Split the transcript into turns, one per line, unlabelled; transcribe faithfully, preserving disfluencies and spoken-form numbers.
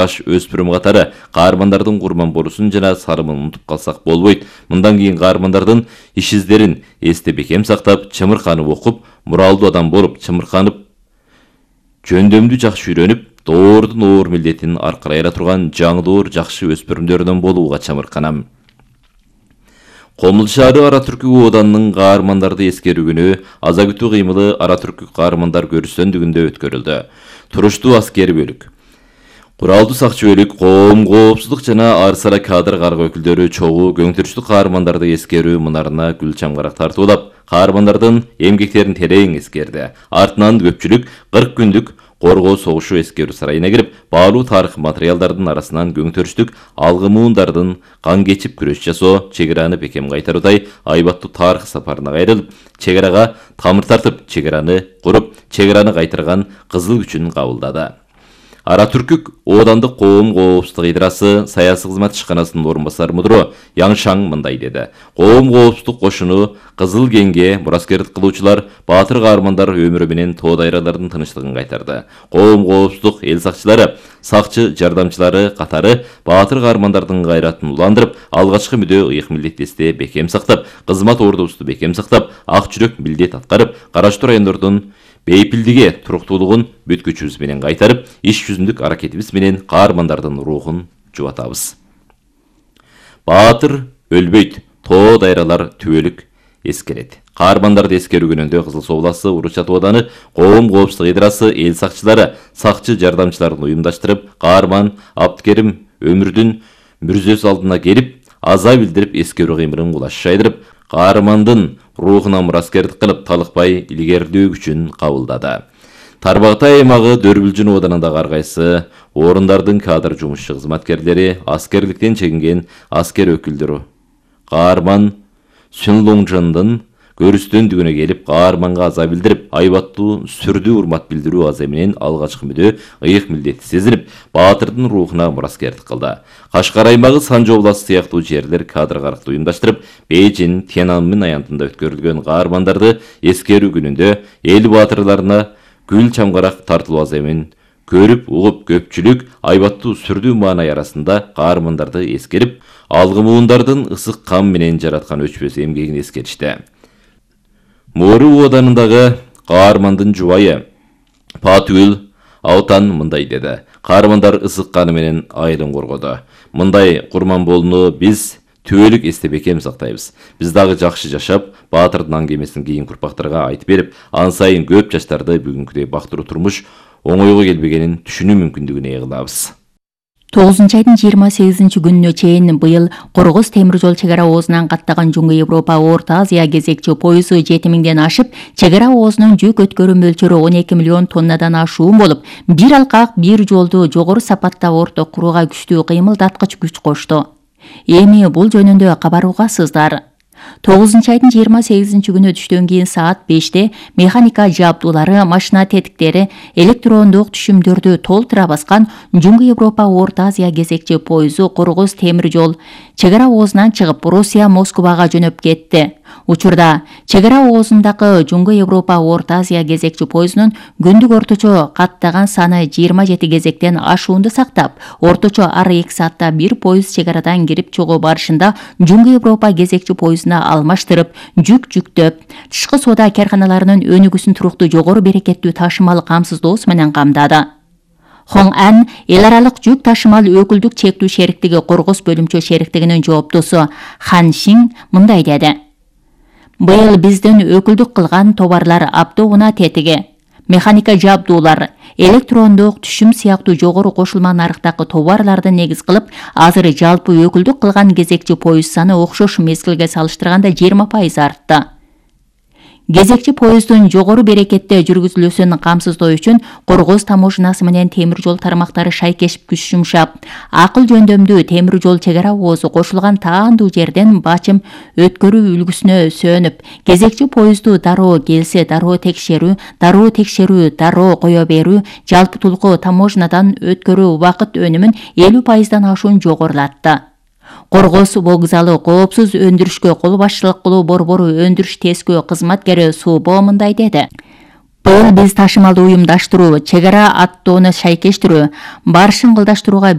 жаш өспүрүм катары каармандардын курман болуусун жана сарымын унутуп калсак болбойт. Мындан кийин каармандардын иш издерин эсте бекем сактап, чымырканып окуп, муралдуу адам болуп, чымырканып, жөндөмдү жакшы үйрөнүп, доордун оор милдетин аркырай ала турган жаңдоор жакшы өспүрүмдөрдөн болууга чамырканам. Комул шаары Ара Түркү Оданынын каармандарды эскерүү күнү аза күтүү кыймылы Ара Түркү каармандар көрүстөндүгүндө өткөрүлдү. Туруштуу аскери бөлүк, куралдуу сакчы бөлүк, коом коопсуздук жана ар сара кадр каргы өкүлдөрү чогуу көңтүрүштүү каармандарды эскерүү мунарына гүл чамгарак тартуулап, каармандардын эмгектерин терең эскерди. Артынан көпчүлүк кырк күндүк коргоо согушу эскерүү сарайына кирип, баалуу тарых материалдардын арасынан көңтүрүштүк алгы муундардын кан кечип күрөш жасоо, чек араны бекем кайтаруудай айбаттуу тарых сапарына кайрылып, чек арага тамыр тартып, чек араны куруп, чек араны кайтарган кызыл күчүн кабылдады. Ара Түркүк Оодандык коом коопсуздук ыйдрасы саясий кызмат ишканасынын орун басары мудуру Яңшаң мындай деди. Коом коопсуздук кошуну Кызыл кеңге мураскерлик кылуучулар, баатыр каармандар өмүрү менен тоо дайралардын тынчтыгын кайтарды. Коом коопсуздук эл сакчылары, сакчы жардамчылары катары баатыр каармандардын кайратын уландырып, алгачкы мүдө ыйык милдеттесте бекем сактап, кызмат ордубузду бекем сактап, ак жүрөк милдет аткарып, караштуу райондордун бейпилдиге, туруктуулугун бүт күчүбүз менен кайтарып, иш жүзүндүк аракетибиз менен каармандардын рухун жубатабыз. Баатыр өлбөйт, тоо дайралар түбөлүк эскерет. Каармандарды эскерүү күнүндө Кызыл Суу областы Урус-Чат ооданы коом коопсуздук ыйдрасы эл сакчылары, сакчы жардамчыларын уюмдаштырып, каарман Абдыкерим өмүрдүн мүрзөсү алдына келип, аза билдирип, эскерүү кыймылын кулаш жайдырып, каармандын рухуна мураскерлик кылып, талыкпай илгерилөө күчүн кабылдады. Тарбагтай аймагы Дөрбүлжүн оданындагы ар кайсы орундардын кадр жумушчу кызматкерлери, аскерликтен чегинген аскер өкүлдөрү каарман Сүнлуңжандын көрүстөндүгүнө келип, каарманга аза билдирип, айбаттуу сүрдүү урмат билдирүү азы менен алгачкы мүдө ыйык милдетти сезинип, баатырдын рухуна мураскерлик кылды. Кашкар аймагы Санжы областы сыяктуу жерлер кадр каракты уюмдаштырып, Бейжин, Тяньаньмин аянтында өткөрүлгөн каармандарды эскерүү күнүндө эл баатырларына гүл чамгарак тартылуу азы менен көрүп, угуп, көпчүлүк айбаттуу сүрдүү маанай арасында каармандарды эскерип, алгы муундардын ысык кам менен жараткан өчпөс эмгегин эскеришти. Мору оданындагы каармандын жубайы Патүл Аутан мындай деди. Каармандар ысык каны менен айылын коргоду. Мындай курман болууну биз түбөлүк эсте бекем сактайбыз. Биз дагы жакшы жашап, баатырдын аңгемесин кийинки урпактарга айтып берип, ан сайын көп жаштарды бүгүнкүдөй бактыруу турмуш оңойго келбегенин түшүнүү мүмкүндүгүнө ээ кылабыз.
тогузунчу айдын жыйырма сегизинчи күнүнө чейин быйыл Коргоз темир жол чек ара оозунан каттаган Жуңгу Европа Орто Азия кезекчи пойызы жети миңден ашып, чек ара оозунун жүк өткөрүү мөлчөрү он эки миллион тоннадан ашуун болуп, бир алкак бир жолду жогору сапатта орто курууга күчтүү кыймылдаткыч күч кошту. Эми бул жөнүндө кабар угасыздар. тогузунчу айдын жыйырма сегизинчи күнү түштөн кийин саат беште механика жабдуулары, машина тетиктери, электрондук түшүмдөрдү толтура баскан Жуңгу Европа Орто Азия кезекчи пойызу Коргоз темир жол чек ара оозунан чыгып, Россия Москвага жөнөп кетти. Учурда чек ара оозундагы Жуңгу Европа Орто Азия кезекчи пойызунун күндүк орточо каттаган саны жыйырма жети кезектен ашуунду сактап, орточо ар эки саатта бир пойыз чек арадан кирип чыгуу барышында Жуңгу Европа кезекчи пойызуна алмаштырып, жүк жүктөп, тышкы соода карканаларынын өнүгүүсүн туруктуу жогору берекеттүү ташымал камсыздоосу менен камдады. Хон Ан эл аралык жүк ташымал өкүлдүк чектүү шериктиги Коргоз бөлүмчө шериктигинин жооптусу Хан Шин мындай деди. Быйыл биздин өкүлдүк кылган товарлар автоунаа тетиги, механика жабдуулар, электрондук түшүм сыяктуу жогору кошулма нарыктагы товарларды негиз кылып, азыр жалпы өкүлдүк кылган кезекчи пойыз саны окшош мезгилге салыштырганда жыйырма пайыз артты. Кезекчи поездун жогору берекетте жүргүзүлүүсүн камсыздоо үчүн Коргоз таможнасы менен темир жол тармактары шайкешип күч жумшап, акыл жөндөмдүү темир жол чек ара оозу кошулган таандуу жерден бачым өткөрүү үлгүсүнө сөөнүп, кезекчи поезду дароо келсе дароо текшерүү, дароо текшерүү, дароо кое берүү, жалпы тулку таможнадан өткөрүү убакыт өнүмүн элүү пайыздан ашуун жогорулатты. Коргоз вокзалы коопсуз өндүрүшкө кол башчылык кылуу борбору өндүрүш тескөө кызматкери Субо мындай деди. Быйыл биз ташымалды уюмдаштыруу, чек ара аттоону шайкештирүү, барышын кылдаштырууга